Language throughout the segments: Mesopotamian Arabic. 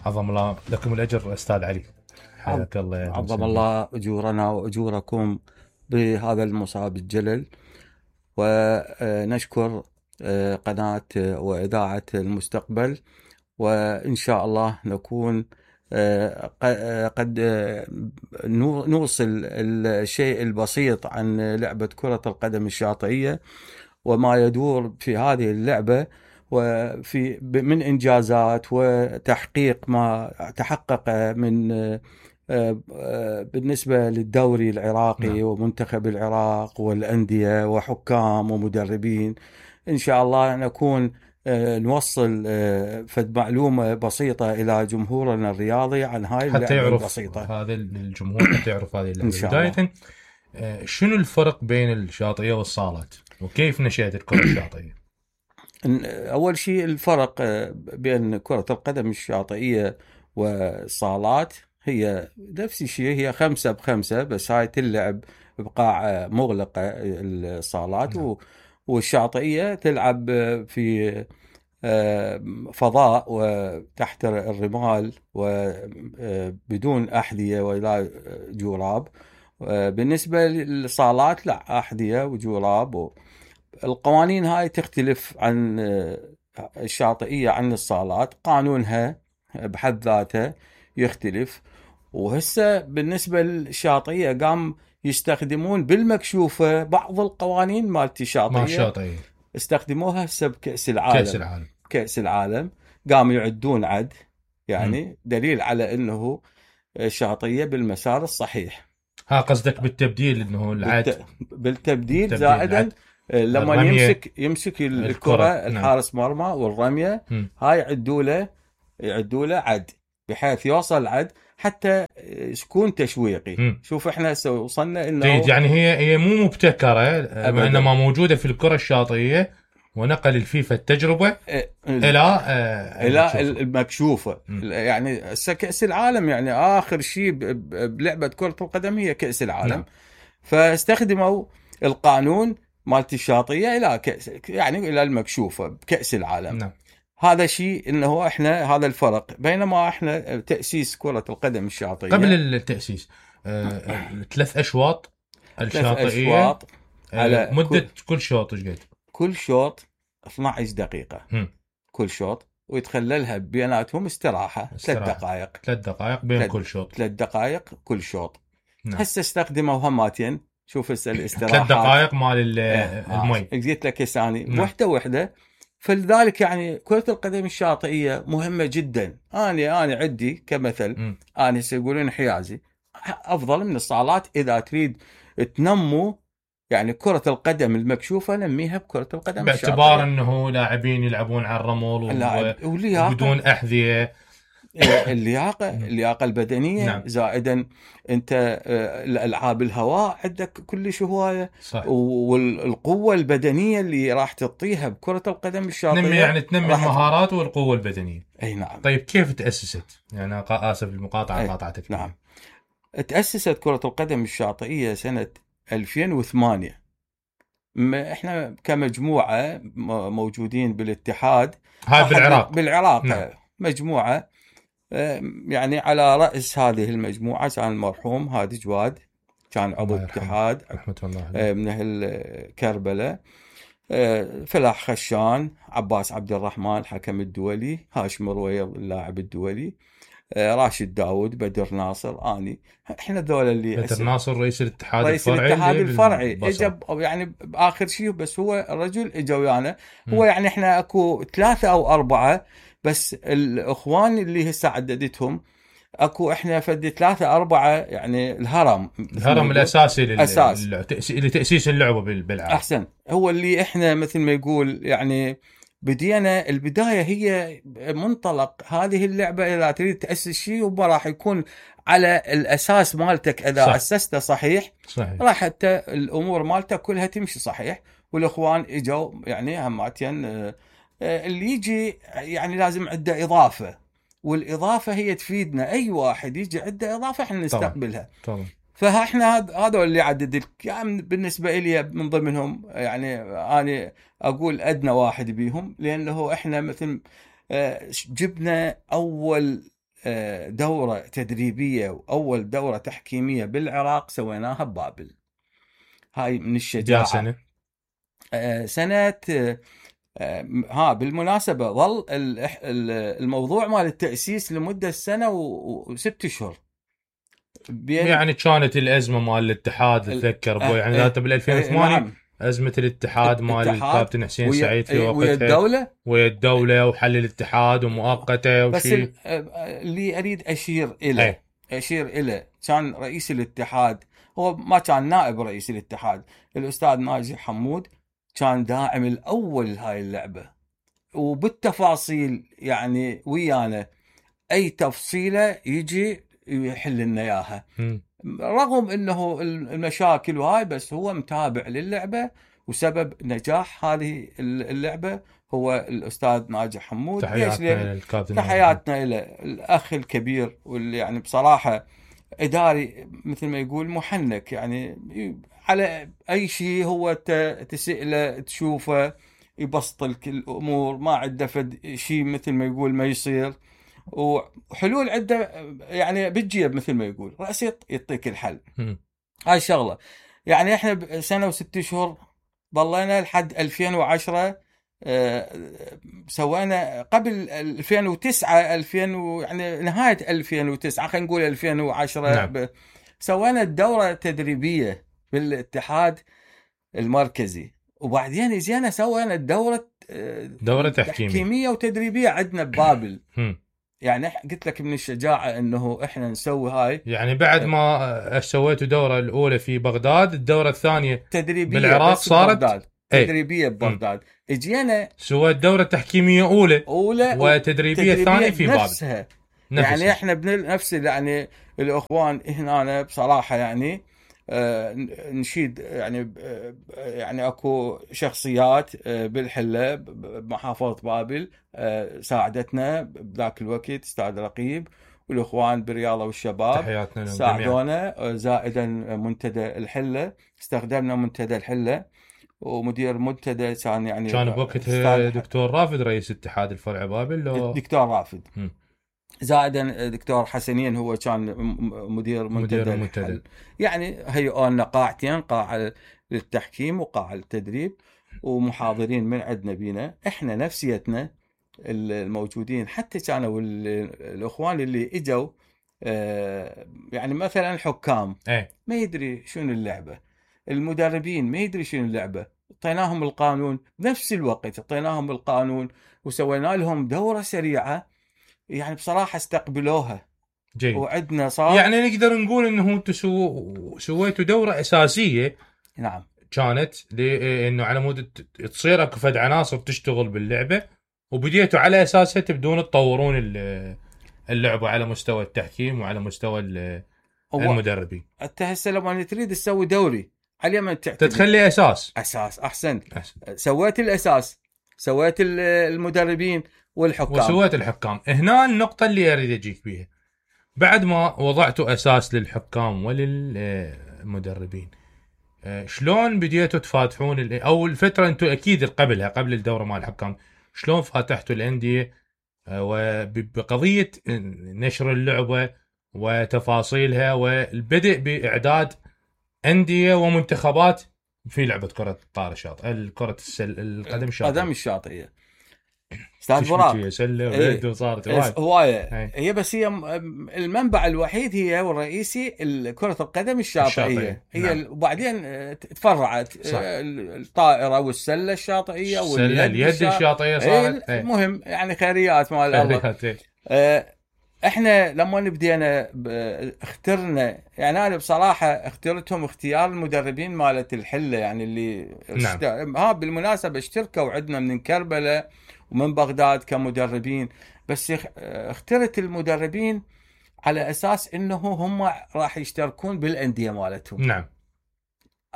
عظم الله لكم الأجر أستاذ علي، حياك الله. عظم الله أجورنا وأجوركم بهذا المصاب الجلل. ونشكر قناة وإذاعة المستقبل، وإن شاء الله نكون قد نوصل الشيء البسيط عن لعبة كرة القدم الشاطئية وما يدور في هذه اللعبة، وفي من إنجازات وتحقيق ما تحقق من بالنسبة للدوري العراقي ومنتخب العراق والأندية وحكام ومدربين. إن شاء الله نكون نوصل فد معلومة بسيطة إلى جمهورنا الرياضي عن هاي اللعبة البسيطة. هذا الجمهور حتى يعرف هذه اللعبة. بداية شنو الفرق بين الشاطئية والصالات وكيف نشأت الكرة الشاطئية؟ أول شيء الفرق بين كرة القدم الشاطئية والصالات هي نفس الشيء، هي 5-5، بس هاي تلعب بقاع مغلقة الصالات. والشاطئية تلعب في فضاء وتحت الرمال وبدون أحذية ولا جوراب. بالنسبة للصالات لا، أحذية وجوراب. القوانين هاي تختلف عن الشاطئية عن الصالات، قانونها بحد ذاته يختلف. وهسه بالنسبة للشاطئية قام يستخدمون بالمكشوفة بعض القوانين مالت الشاطئية استخدموها هسه بكأس العالم. كأس العالم قاموا يعدون عد، يعني دليل على انه الشاطئية بالمسار الصحيح. ها قصدك بالتبديل، انه العد بالتبديل زائدا لما يمسك الكرة الحارس مرمى والرمية هاي يعدوا له عد بحيث يوصل عد حتى يكون تشويقي. شوف احنا وصلنا انه يعني هي مو مبتكرة، وانما موجودة في الكرة الشاطئية، ونقل الفيفا التجربة الى المكشوفة. يعني كأس العالم يعني اخر شيء بلعبة كرة القدم هي كأس العالم. فاستخدموا القانون مالت الشاطئية الى يعني الى المكشوفة بكأس العالم. هذا شيء انه احنا هذا الفرق. بينما احنا تأسيس كرة القدم الشاطئية قبل التأسيس 3 أشواط الشاطئية على مدة كل شوط ايش قد؟ كل شوط 12 دقيقة كل شوط، ويتخللها بيناتهم استراحة 3 دقائق. 3 دقائق بين كل شوط. 3 دقائق كل شوط. هسه استخدموا هماتين. شوف هسه الاستراحات 3 دقائق مال المي. قلت لك ثاني وحدة. فلذلك يعني كرة القدم الشاطئية مهمة جدا. أنا عندي كمثل، أنا سيقولون حيازي أفضل من الصالات. إذا تريد تنمو يعني كرة القدم المكشوفة نميها بكرة القدم باعتبار أنه لاعبين يلعبون على الرمل وبدون أحذية. اللياقة البدنية زائدا أنت الألعاب الهواء عندك كلش هواية، والقوة البدنية اللي راح تعطيها بكرة القدم الشاطئية تنمي المهارات والقوة البدنية. أي نعم. طيب كيف تأسست؟ يعني آسف المقاطعة قاطعتك. نعم. تأسست كرة القدم الشاطئية سنة 2008. احنا كمجموعة موجودين بالاتحاد. هاي بالعراق. نعم. مجموعة يعني على رأس هذه المجموعة كان المرحوم هادي جواد، كان عضو اتحاد من أهل كربلاء. فلاح خشان، عباس عبد الرحمن حكم الدولي، هاشم رويض اللاعب الدولي، راشد داود، بدر ناصر، اني. احنا ذولا اللي بدر ناصر رئيس الاتحاد الفرعي اجى يعني باخر شيء، بس هو الرجل اجى ويانا. هو يعني احنا اكو 3 أو 4 بس الاخوان اللي هسه عددتهم اكو احنا فد 3 4 يعني الهرم الاساسي لتأسيس اللعبة بالعالم. احسن. هو اللي احنا مثل ما يقول يعني بدينا البداية هي منطلق هذه اللعبة. إذا تريد تأسس شيء وما راح يكون على الأساس مالتك إذا أسسته صحيح راح حتى الأمور مالتك كلها تمشي صحيح. والإخوان إجوا يعني هماتين اللي يجي يعني لازم عنده إضافة، والإضافة هي تفيدنا. أي واحد يجي عنده إضافة إحنا نستقبلها. طبعا. فاحنا هذا اللي عدد يعني بالنسبة لي من ضمنهم. يعني أنا أقول أدنى واحد بيهم، لأنه إحنا مثل جبنا أول دورة تدريبية وأول دورة تحكيمية بالعراق سويناها ببابل. هاي من الشجاعة. سنة؟ سنة بالمناسبة ظل الموضوع مال التأسيس لمدة سنة وست اشهر. يعني كانت الأزمة مال الاتحاد اتذكر يعني ذات بال 2008 نعم. أزمة الاتحاد مال الكابتن حسين سعيد في وقتها ويا الدولة وحل الاتحاد ومؤقته وشيء. بس اللي أريد أشير إلى كان رئيس الاتحاد هو ما كان نائب رئيس الاتحاد الأستاذ ناجي حمود، كان داعم الأول هاي اللعبة وبالتفاصيل يعني ويانا أي تفصيلة يجي يحل لنا إياها رغم أنه المشاكل وهاي، بس هو متابع للعبة وسبب نجاح هذه اللعبة هو الأستاذ ناجي حمود. تحياتنا إلى الأخ الكبير واللي يعني بصراحة إداري مثل ما يقول محنك، يعني على أي شيء هو تسأله تشوفه يبسط لك الأمور، ما عنده فد شيء مثل ما يقول ما يصير، وحلول عنده يعني بالجيب مثل ما يقول رأس يعطيك الحل. هاي شغلة يعني احنا بسنة وست شهور ضلينا لحد 2010 سوينا قبل 2009 يعني نهاية 2009 خلينا نقول 2010 نعم. سوينا الدورة التدريبية بالاتحاد المركزي، وبعدين جينا سوينا دورة تحكيمية وتدريبية عندنا ببابل. يعني قلت لك من الشجاعة انه احنا نسوي هاي. يعني بعد ما سويتوا الدورة الاولى في بغداد، الدورة الثانية تدريبية بالعراق صارت تدريبية ببغداد، اجينا سويت دورة تحكيمية اولى وتدريبية ثانية في بابل. يعني احنا بنفس يعني الاخوان هنا بصراحة يعني نشيد يعني اكو شخصيات بالحلة بمحافظة بابل ساعدتنا بذاك الوقت، استاذ رقيب والاخوان بالرياضة والشباب ساعدونا، زائدا منتدى الحلة استخدمنا منتدى الحلة، ومدير منتدى كان بوقتها دكتور رافد رئيس اتحاد الفرع بابل دكتور رافد زائدا دكتور حسنين هو كان مدير منتدى الحل. يعني هيئوا لنا قاعتين، قاعة للتحكيم وقاعة للتدريب، ومحاضرين من عندنا بينا احنا نفسيتنا الموجودين، حتى كانوا الاخوان اللي اجوا يعني مثلا الحكام ما يدري شنو اللعبة، المدربين ما يدري شنو اللعبة، اعطيناهم القانون بنفس الوقت، اعطيناهم القانون وسوينا لهم دورة سريعة، يعني بصراحة استقبلوها جيد. وعندنا صار يعني نقدر نقول انه انتم سويتوا دورة اساسية نعم كانت لانه على مود تصير اكو فد عناصر تشتغل باللعبة، وبديتوا على اساسها تبدون تطورون اللعبة على مستوى التحكيم وعلى مستوى المدربين. انت هسه لما تريد تسوي دوري على ما تتخلي اساس احسن. سويت الاساس، سويت المدربين والحكام وسويت الحكام. هنا النقطة اللي اريد اجيك بيها، بعد ما وضعتوا اساس للحكام وللمدربين شلون بديتوا تفاتحون او الفترة انتم اكيد قبل الدورة مال الحكام شلون فاتحتوا الاندية وبقضية نشر اللعبة وتفاصيلها والبدء باعداد اندية ومنتخبات في لعبة كرة الطائرة الشاطئية، كرة القدم الشاطئية. استاذ فراق وصارت هوايه هي، بس هي المنبع الوحيد هي والرئيسي كرة القدم الشاطئية هي نعم. وبعدين تفرعت الطائرة والسلة الشاطئية واليد الشاطئية صارت مهم يعني خيريات مال الله. احنا لما بدينا اخترنا، يعني انا بصراحة اخترتهم اختيار المدربين مالة الحلة، يعني اللي نعم. بالمناسبة اشتركوا عندنا من كربلاء ومن بغداد كمدربين، بس اخترت المدربين على اساس انه هم راح يشتركون بالانديه مالتهم. نعم.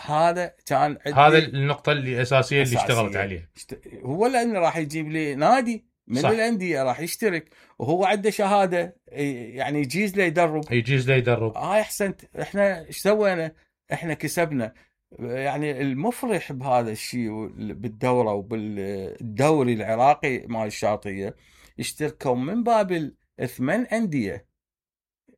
هذا كان هذا النقطه الاساسيه اللي اشتغلت عليها. هو لانه راح يجيب لي نادي من صح. الانديه راح يشترك وهو عنده شهاده، يعني يجيز له يدرب. احسنت. احنا ايش سوينا؟ احنا كسبنا. يعني المفرح بهذا الشيء بالدورة وبالدوري العراقي مال الشاطئية اشتركوا من بابل 8 أندية.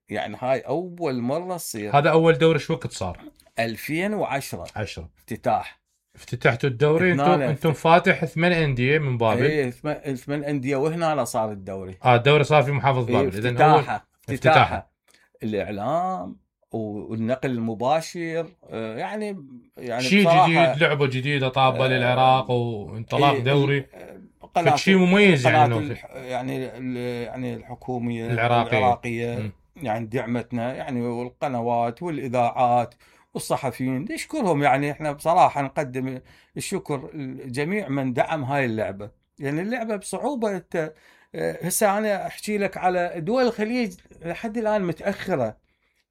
يعني هاي أول مرة تصير. هذا اول دوري شو وقت صار؟ 2010 10 افتتاح. افتتحتوا الدوري هنا انتم فاتح 8 انديه من بابل. ايه 8 أندية، وهنا صار الدوري. الدوري صار في محافظه إيه بابل. اذا اول افتتاحه الإعلام والنقل المباشر، يعني شيء بصراحة جديد، لعبه جديده طابه للعراق وانطلاق دوري. قناة شيء مميز يعني يعني الحكومية العراقيه. يعني دعمتنا، يعني والقنوات والإذاعات والصحفيين نشكرهم. يعني احنا بصراحة نقدم الشكر لجميع من دعم هاي اللعبة. يعني اللعبة بصعوبة هسه انا احكي لك على دول الخليج لحد الان متأخرة.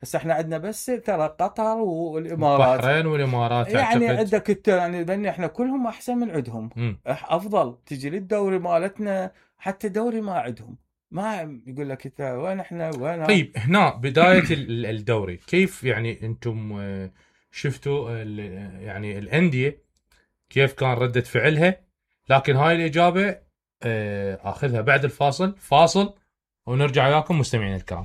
هسه احنا عندنا بس ترى قطر والامارات، البحرين والامارات يعني اعتقد. عندك انت يعني ذني احنا كلهم احسن من عندهم. افضل تجي للدوري مالتنا، حتى دوري ما عندهم. ما يقول لك انت وين احنا وين. طيب هنا بداية الدوري كيف يعني انتم شفتوا يعني الأندية كيف كان ردة فعلها؟ لكن هاي الإجابة اخذها بعد الفاصل، فاصل ونرجع وياكم مستمعين الكرام.